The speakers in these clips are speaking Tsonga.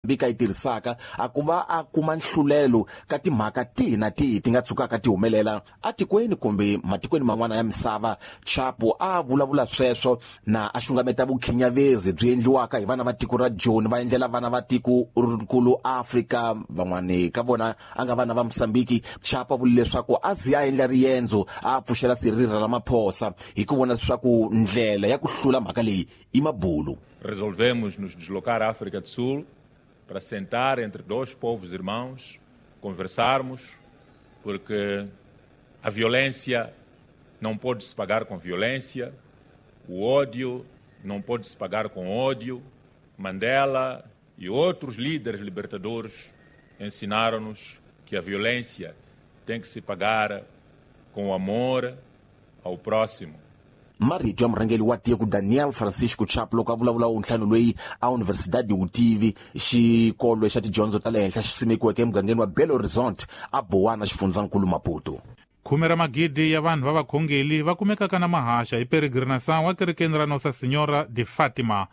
Mozambiki a yi tirhisaka a ku va a kuma nhlulelo ka timhaka tihi na tihi ti nga tshukaka ti humelela atikweni kumbe matikweni man'wana ya misava. Chapo a vulavula sweswo na a xungameta vukhinyavezi byi endliwaka hi vana va tiko ra Joni va endlela vana va tiko rikulu Afrika, van'wani ka vona a nga vana va Mosambiki. Chapo a vule leswaku a zi a endla riendzo a pfuxela Cyril Ramaphosa hi ku vona leswaku ndlela ya ku hlula mhaka leyi i mabulu. Resolvemos nos deslocar à África do Sul para sentar entre dois povos irmãos, conversarmos, porque a violência não pode se pagar com violência, o ódio não pode se pagar com ódio. Mandela e outros líderes libertadores ensinaram-nos que a violência tem que se pagar com o amor ao próximo. Marito ya murhangeri wa tiko Daniel Francisco Chapo loko a vulavula wuntlhanu loyi a Universidade Vutivi, xikolo xa tidyondzo ta le henhla xi simekiweke emugangeni wa Belo Horizonte a Bowana, xifundzankulu Maputo. Khume ra magidi ya vanhu va vakhongeli va kumekaka na mahaxa hi peregrinação wa kerekeni ra Nossa Senhora de Fátima.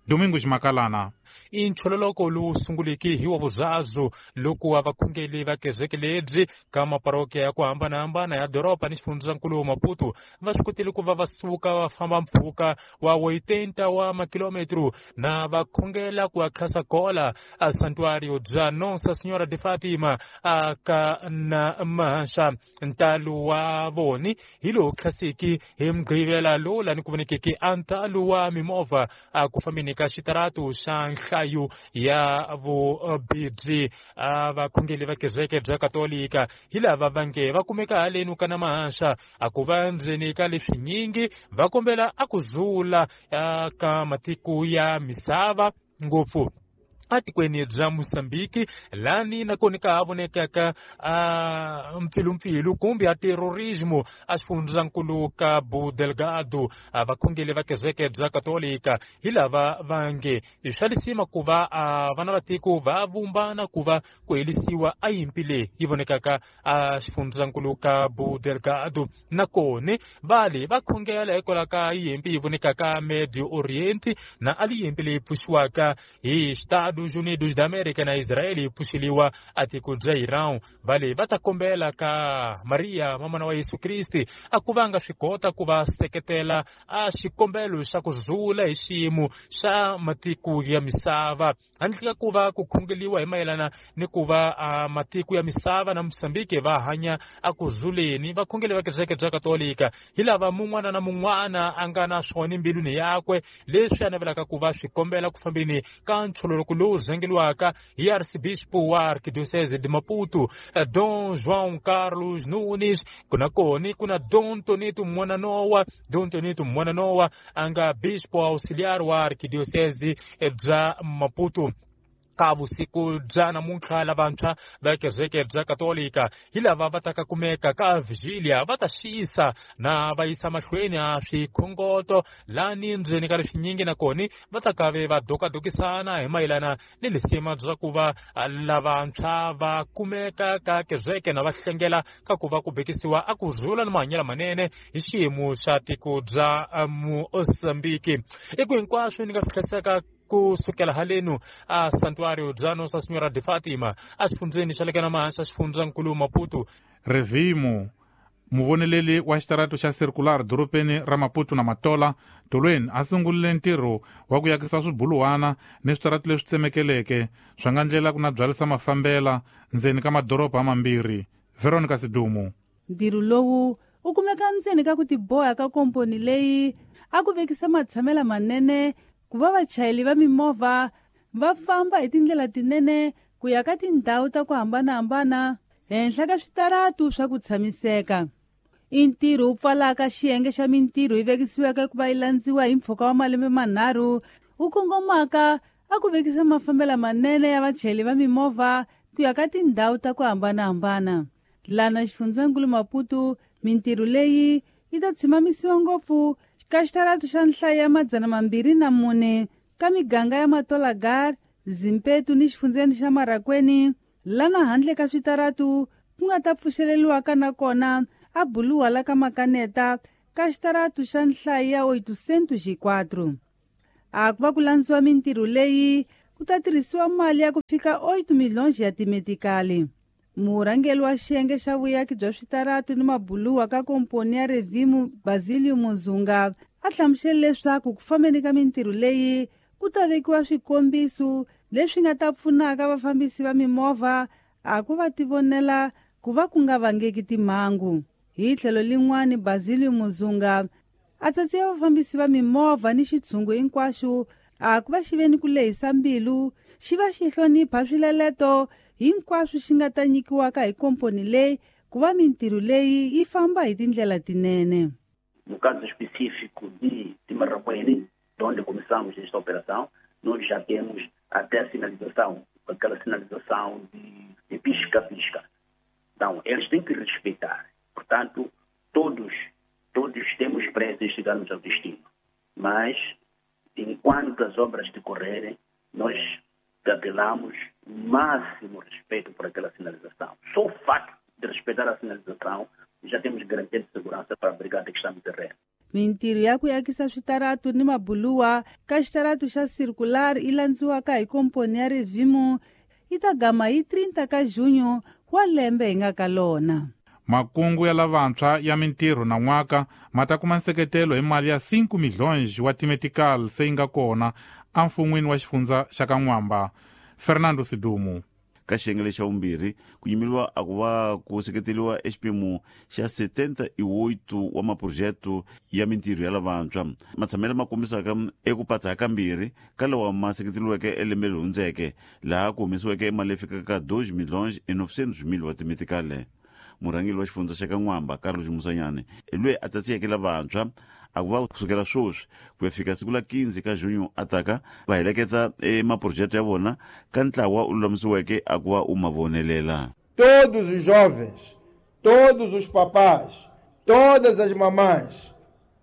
Domingos Makalana. I nchololoko lowu sunguleke hi wa vuzazu loko wa vakhongeli va kereke lebyi ka maparokiya ya ku hambanahambana ya doroba ni xifundzankulu wa Maputo va swi kotile ku va va suka va famba mpfhuka wa 80 wa makilometro na va khongela ku akhasa kola a santuário bya Nossa Senhora de Fátima a ka na mahaxa. Ntalo wa voni hi lowu khasiki hi mugqivela lowu lani ku vonekeke a ntalo wa mimovha a ku fambeni ka xitaratu xa nhlayo ya vubibyi. A vakhongeli va kereke bya Katolika hi lava va nge va kumeka haleni ka na mahaxa a ku va ndzeni ka leswinyingi va kombela a ku zula ka matiko ya misava ngopfu atikweni bya Mozambiki lani nakona ka ha vonekaka a mpfilumpfilu kumbe a terrorismo a xifundzankulu Cabo Delgado. Vakhongeli va kereke bya Katolika hi lava va nge i swa lisima ku va vana va tiko va vumbana ku va ku helisiwa a yimpi leyi yi vonekaka a xifundzankulu Cabo Delgado. Nakona va le va khongela hikwalaho ka yimpi yi vonekaka Medio Oriente na a li yimpi leyi pfuxiwaka hi Estados Unidos da América na Israel yi pfuxeliwa a tiko bya Iran. Va le va ta kombela ka Maria mamana wa Yesu Kriste a ku va nga swi kota ku va seketela a xikombelo xa ku zula hi xiyimo xa matiko ya misava handle ka ku va ku khongeliwa hi mayelana ni ku va matiko ya misava na Mozambiki va hanya a ku zuleni. Vakhongeli va kereke bya Katolika hi lava mun'wana na mun'wana a nga na swona embilwini yakwe leswi a navelaka ku va swi kombela ku fambeni ka nchololoko lowu rhangeliwaka hi Arcebispo wa Arquidiocese de Maputo Dom João Carlos Nunes. Kuna koni kuna Dom Tonito Mwananoa, Dom Tonito Mwananoa a nga bispo auxiliar wa Arquidiocese bya Maputo. Ka vusiku bya namuntlha lavantshwa va kereke bya Katolika hi lava va taka kumeka ka vigilia va ta xisa na va yisa mahlweni a swikhongoto lani ndzeni ka leswinyingi nakona va ta kave va dokadokisana hi mayelana ni lisima bya ku va lavantshwa va kumeka ka kereke na va hlengela ka ku va ku bekisiwa a ku zula ni mahanyelo manene hi xiyimo xa tiko bya Mozambiki. I ku hinkwaswo ni nga swi hlayiseka ku sukela halenu a santuário bya Nossa Senhora de Fátima a xifundzeni xa le ka Namahaxa xifundzankulu Maputo. Revimo muvoneleli wa xitaratu xa Circular dorobeni ra Maputo na Matola tolweni a sungurile ntirho wa ku yakisa swibuluwana ni switaratu leswi tsemekeleke swa nga ndlela ku na byalisa mafambela ndzeni ka madoroba mambirhi. Veronica Sidumu. Ntirho lowu u kumeka ndzeni ka ku tiboha ka komponi leyi a ku vekisa matshamela manene ku va vachayeri va mimovha va famba hi tindlela tinene ku ya ka tindhawu ta ku hambanahambana henhla ka switaratu swa ku tshamiseka. I ntirho wu pfalaka xiyenge xa mintirho yi vekisiweke ku va yi landziwa hi mpfhuka wa malembe manharhu wu kongomaka a ku vekisa mafambelo manene ya vachayeri va mimovha ku ya ka tindhawu ta ku hambanahambana. Lana xifundzankulu Maputo mintirho leyi yi ta tshimamisiwa ngopfu ka xitaratu xa nhlayo ya 204 ka miganga ya Matolagar, Zimpetu ni xifundzeni xa Marakweni, lana handle ka switaratu ku nga ta pfuxeleriwaka nakona a buluwa la ka Makaneta ka xitaratu xa nhlayo ya 804. A ku va ku landziwa mintirho leyi ku ta tirhisiwa mali ya ku fika 8 milhões ya timetikali. Murhangeri wa xiyenge xa vuyaki bya switaratu ni mabuluwa ka komponi ya Revimo Basilio Muzunga a hlamusele leswaku ku fambeni ka mintirho leyi ku ta vekiwa swikombiso leswi nga ta pfunaka vafambisi va mimovha a ku va tivonela ku va ku nga vangeki timhangu. Hi tlhelo lin'wani Basilio Muzunga a tsatsiya vafambisi va mimovha ni xitshungu hinkwaxo a ku va xi ve ni ku lehisa mbilu xi va xi hlonipha swileleto hinkwaswo xi nga ta nyikiwaka hi komponi leyi ku va mintirho leyi yi famba hi tindlela tinene. No caso específico de Marracuene, onde começamos esta operação, nós já temos até a sinalização, aquela sinalização de pisca-pisca. Então, eles têm que respeitar. Portanto, todos temos pressa em chegarmos ao destino. Mas, enquanto as obras decorrerem, nós apelamos o máximo respeito por aquela sinalização. Só o facto de respeitar a sinalização, já temos garantia de segurança para a brigada que está no terreno. Mintirho ya ku yakisa switaratu ni mabuluwa ka xitaratu xa circular yi landziwaka hi komponi ya Revimo yi ta gama hi 30 ka junho wa lembe hi nga ka lona. Makungu ya lavantshwa ya mintirho na n'waka ma ta kuma nseketelo hi mali ya 5 milhões wa timetical se yi nga kona emfun'wini wa xifundza xa ka N'wamba. Fernando Sidumu. Ka xiyenge lexa vumbirhi ku yimeriwa a ku va ku seketeriwa exiphemu xa 78 wa maphurojete ya mintirho ya lavantshwa matshamelo ma kombisaka eku patsa kambirhi ka lawa ma seketeriweke elembe leri hundzeke laha ku humesiweke mali leyi fikaka ka 2 milhões e 900 mil wa timetikale. Murhangeri wa xifundza xa ka N'wamba Carlos Musanyane hi loyi a tsatsiyeke lavantshwa a ku va kusukela sweswi ku ya fika siku la 15 ka junho a taka va heleketa emaphurojete ya vona ka ntlawa u lulamisiweke a ku va u ma vonelela. Todos os jovens, todos os papás, todas as mamães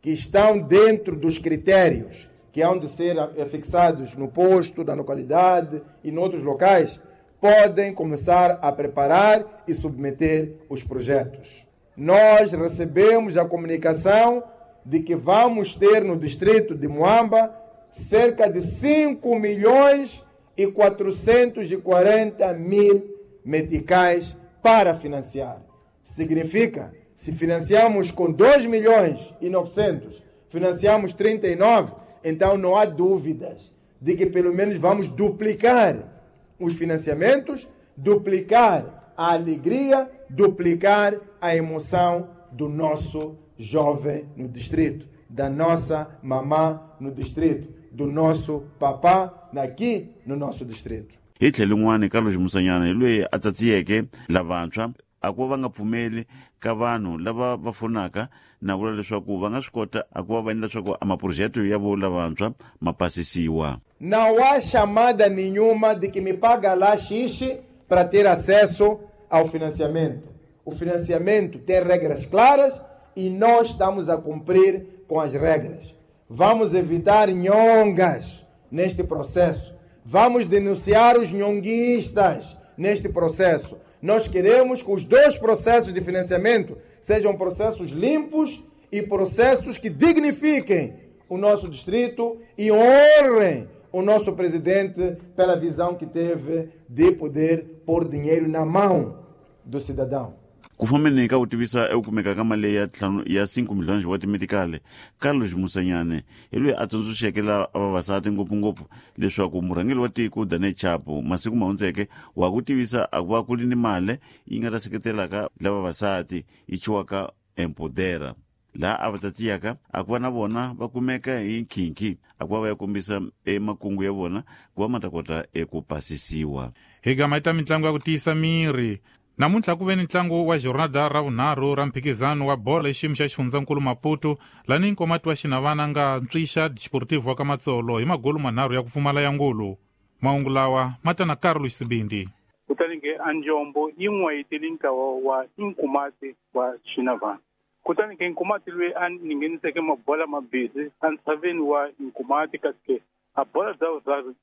que estão dentro dos critérios que hão de ser fixados no posto, na localidade e noutros locais, podem começar a preparar e submeter os projetos. Nós recebemos a comunicação de que vamos ter no distrito de Moamba cerca de 5.440.000 meticais para financiar. Significa, se financiamos com 2.900.000, financiamos 39, então não há dúvidas de que pelo menos vamos duplicar os financiamentos, duplicar a alegria, duplicar a emoção do nosso jovem no distrito, da nossa mamã no distrito, do nosso papá aqui no nosso distrito. Hi tlhelo rin'wana Carlos Musanyana hi loyi a tsatsiyeke lavantshwa a ku va nga pfumeli ka vanhu lava va fonaka na vula leswaku va nga swi kota a ku va va endla leswaku a maphurojete ya vo lavantshwa ma pasisiwa. Não há chamada nenhuma de que me paga lá X para ter acesso ao financiamento. O financiamento tem regras claras e nós estamos a cumprir com as regras. Vamos evitar nhongas neste processo. Vamos denunciar os nhonguistas neste processo. Nós queremos que os dois processos de financiamento sejam processos limpos e processos que dignifiquem o nosso distrito e honrem o nosso presidente pela visão que teve de poder pôr dinheiro na mão do cidadão. Ku fambeni ka ku tivisa eku kumeka ka mali ya ya 5 milhões wa timetikale, Carlos Musanyane hi loyi a tsundzuxeke la vavasati ngopfungopfu leswaku murhangeri wa tiko Daniel Chapo masiku ma hundzeke wa ku tivisa a ku va ku ri ni mali yi nga ta seketelaka la vavasati yi chiwaka Empodera laha a va tsatsiyaka a ku va na vona va kumeka hi nkhinkhi a ku va va ya kombisa emakungu ya vona ku va ma ta kota eku pasisiwa. Hi gama ita mitlangu ya ku tiyisa miri. Namuntlha ku ve ni ntlangu wa jornada ra vunharhu ra mphikizano wa bolo xiyimo xa xifundzankulu Maputo lani nkomati wa Xinavana nga ntswixa Desportivo wa ka Matsolo hi magolu manharhu ya ku pfumala ya ngulu. Mahungu lawa ma ta na Carlos Sibindi. Kutani ke anjombo yi n'wayiteli ntlawa wa Inkomati wa Xinavana. Kutani ke Nkomati loyi a ngheniseke mabola mabisi entshaveni wa Nkomati kasi ke a bola dza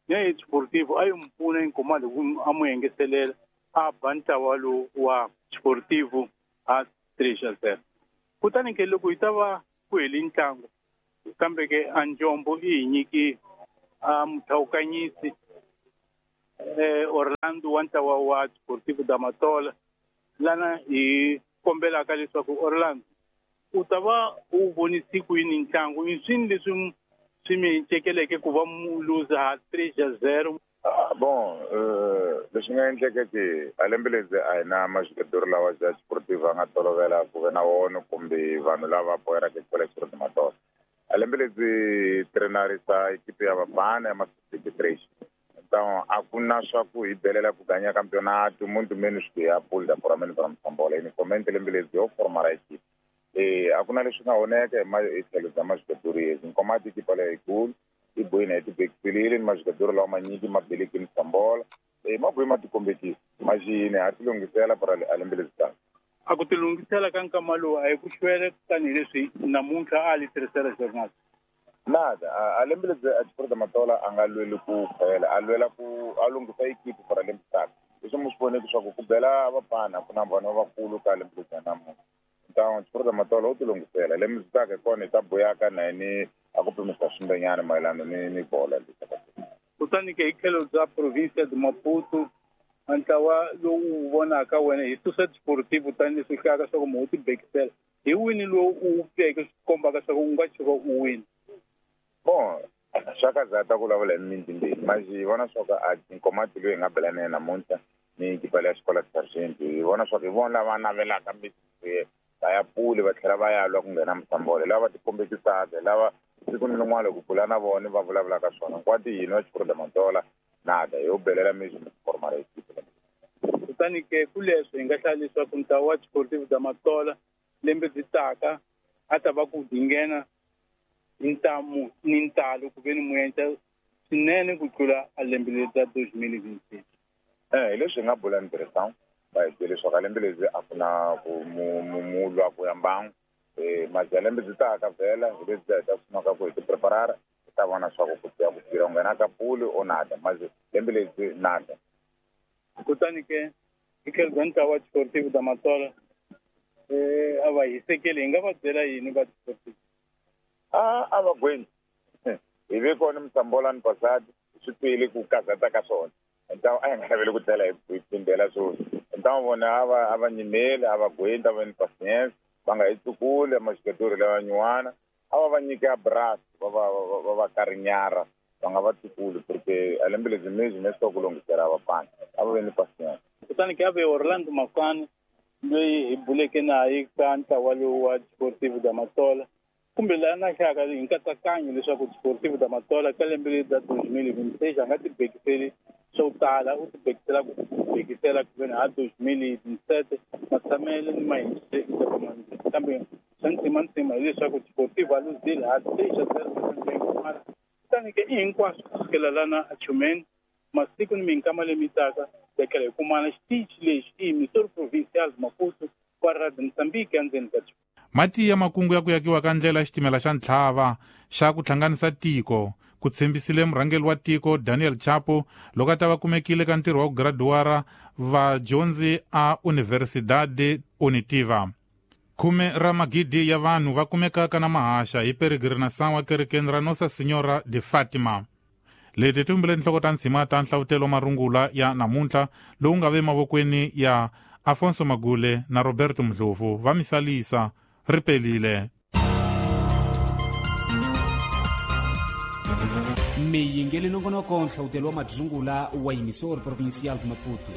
ya Desportivo a yi n'wi pfuna Nkomati ku a n'wi engetelela a ba ntlawa lowu wa Desportivo a 3-0. Kutani ke loko yi ta va ku hele ntlangu kambe ke anjombo yi hi nyiki a muthawukanyisi Orlando wa ntlawa wa Desportivo da Matola lana hi kombelaka leswaku Orlando u ta va u vonisi ku yini ntlangu i swini leswi swi mi cekeleke ku va mu luza 3-0? Bon, leswi nga endleka ke a lembe leri a hi na majogadori lawa ya Desportivo a nga tolovela ku ve na wona kumbe vanhu lava boheraka xikolo xa da Matola. A lembe leri trenarisa ekipe ya vafana ya ma-63. Então a ku na swa ku hi belela ku ganya campeonato muito menos que a pool da foramene para Moçambola. Inicialmente lembe leri yo formar a equipe. A ku na leswi nga oneka hi tlhelo bya majogadori yezi. Nkomati ekipa leyikulu i bohini hi tibekisile ni majogadori lawa manyingi ma beleki Moçambola. Ma bohi ma tikombekisa maxini ha ti lunghisela para a lembe leri taka. A ku ti lunghisela ka nkama lowu a hi ku xwele tanihileswi namuntlha a li tirhisela journal. Nada, a lembe leri a Desportivo da Matola a nga lweli ku khwela, a lwela ku a lunghisa ekipi para lembe taka. Leswi mu swi voneke swa ku bela vafana ku na vanhu lavakulu ka lembe leri namuntlha. Então Desportivo da Matola u ti lunghisela lembe leri taka hi kona hi ta boyaka na yini a ku pimisa swimbenyana mayelana ni bola leyi. Kutani ke hi tlhelo bya province de Maputo ntlawa lowu vonaka wena hi susa Desportivo tanihileswi hlaka swa ku mu u tibekisela hi wini lowu u pfeke swi kombaka swa ku u nga tshuka u wini? Bon, swa ka zata ku vulavula hi mintimbeni mas hi vona swa ku a Nkomati loyi hi nga bela na yena namuntlha ni ekipa leya xikola Sargent hi vona swa ku hi vona lava navelaka va ya puli va tlhela va ya lwa ku nghena Moçambola lava va tikombekisaka lava siku ni rin'wana loko bula na vona va vulavulaka swona nkwati yini wa Desportivo da Matola nada yo belela mesmo formar a equipe. Kutani ke kuleswo hi nga hlaya leswaku ntlawa wa Desportivo da Matola lembe byi taka a ta va ku dinghena ntamu ni ntalo ku ve ni muendla swinene ku tlula a lembe leri ra 2026. Hi leswi hi nga bula ni tirhisang va hi byele leswaku a lembe leri a ku na ku mu lwa ku ya mbangu. Maja lembe byi taka vhela hi lebyi hi ta sungula ku hi ti preparara hi ta vona swa ku ya ku tirha nghena ka puli o nada maje lembe leri nada. Kutani ke hi tlhelo bya ntlawa wa Desportivo da Matola a va hisekeli hi nga va byela yini va Desportivo? A va gweni hi ve kona Moçambola ni pasadi swi twile ku kazata ka swona. Então a hi nga laveli ku tlhela hi phindela swona. Então vona a va nyimeli a va gweni a va ni patience va nga hi tsukuli majogadori lawa nyuwana a va nyike abraço va karinyara va nga va tsukuli porque a lembe leri mesmo mesmo ku lunghisela vafana a va ve ni patience. Kutani ke a ve Orlando Mafana loyi hi buleke naye ka ntlawa lowu wa Desportivo da Matola kumbe laha na hlaka hi nkatsakanyo leswaku Desportivo da Matola ka lembe leri ra 2026 a nga tibekiseli swo tala u tibekisela ku bekisela ku veni ha 2027 matshamele ni mahindze kambe swa ntsimantsima hileswaku Desportivo a luzile ha 3-0 kutani ke i hinkwaswo kusukela lana a Chumeni masiku ni minkama leyi taka tekela hi kumana xitichi lexi i Missouri Provincial Maputo kwa Radio Mozambique endzeni ka mati ya makungu ya ku yakiwa ka ndlela ya xitimela xa ntlhava xa ku hlanganisa tiko ku tshembisile murhangeri wa tiko Daniel Chapo loko a ta va kumekile ka ntirho wa ku graduara vadyondzi a Universidade Unitiva. 10 ra magidi ya vanhu va kumekaka na mahaxa hi peregrinação wa kerekeni ra Nossa Senhora de Fatima. Leti ti vumbile tinhloko ta ntshima ta nhlavutelo marungula ya namuntlha lowu nga ve mavokweni ya Afonso Magule na Roberto Mdlovu va misalisa ri pelile. Miyingeli nongonoko nhlavutelo wa madzungula wa Emissor Provincial de Maputo.